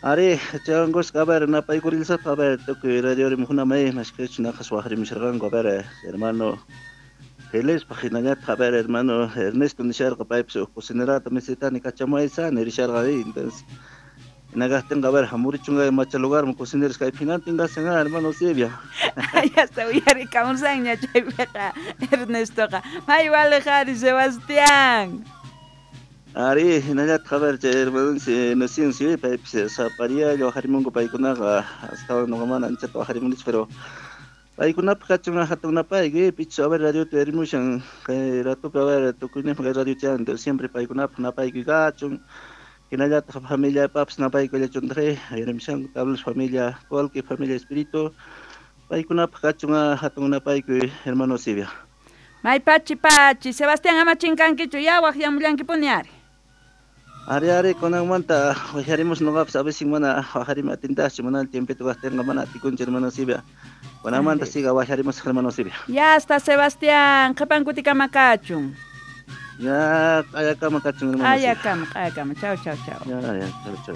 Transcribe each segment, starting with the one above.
Ari, chaywankusqa, a ver, napaykurillasataq, a ver, tukuy radio rimaqkunamay, mashkhachu naqhas waqrimusharqanku, a ver, hermano Felispaq hinallataq, a ver, hermano Ernesto nisharqa, paypis huk cocinerata necesitani kachamuwaysa nirisharqa, entonces hina kaqtinqa, a ver, hamurichunqa macha lugarman cocineros kaypi hinantin kashan, hermano Silvia. Hasta uyarikamusanña chaypiqa Ernestoqa. May waliq ari, Sebastián. Ari, hinallataq, a ver, chay hermanonchis Inocencio, paypis sapariallo waqarimunku paykunaqa, astawan noqa mana anchata waqarimunichu, pero paykunapaq kachun hatun napayku, pichus, a ver, radiota uyarimushan kay ratopi, a ver, tukuyninpaq kay radio chan, entonces siempre paykunapaq napaykuy kachun, hinallataq familiapapas napaykullachuntaq, uyarimushanku tablas familia Colque, familia Espíritu, paykunapaq kachun hatun napaykuy, hermano Silvia. May pachi pachi, Sebastián, ama chinkankichu, ya waqyamullankipuni ari. Ari, ari, kunanmanta waqyarimus noqapas, a veces mana waqarimi atintaschu, mana tiempito kaqtinqa mana atikunchu, hermano Silvia. Kunanmanta siga waqyarimus, hermano Silvia. Ya está, Sebastián, qhipan kutikama kachun. Ya, q'ayakama kachun, hermano Silvia. Q'ayakama, q'ayakama. Chau, chau, chau. Ya, ya, chau, chau.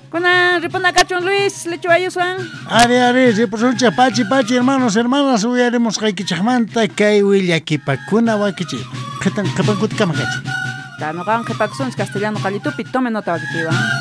Kunan ripuna kachun, Luis, lechuayuswan. Ari, ari, ripusunchik, pachi, pachi, hermanos, hermanas, uyarimusqaykichikmanta kay willakipakuna wakichi. Qhipan kutikama kachun. Noqan qhipakusunchik castellano qallitupi, tome nota wakichiwan.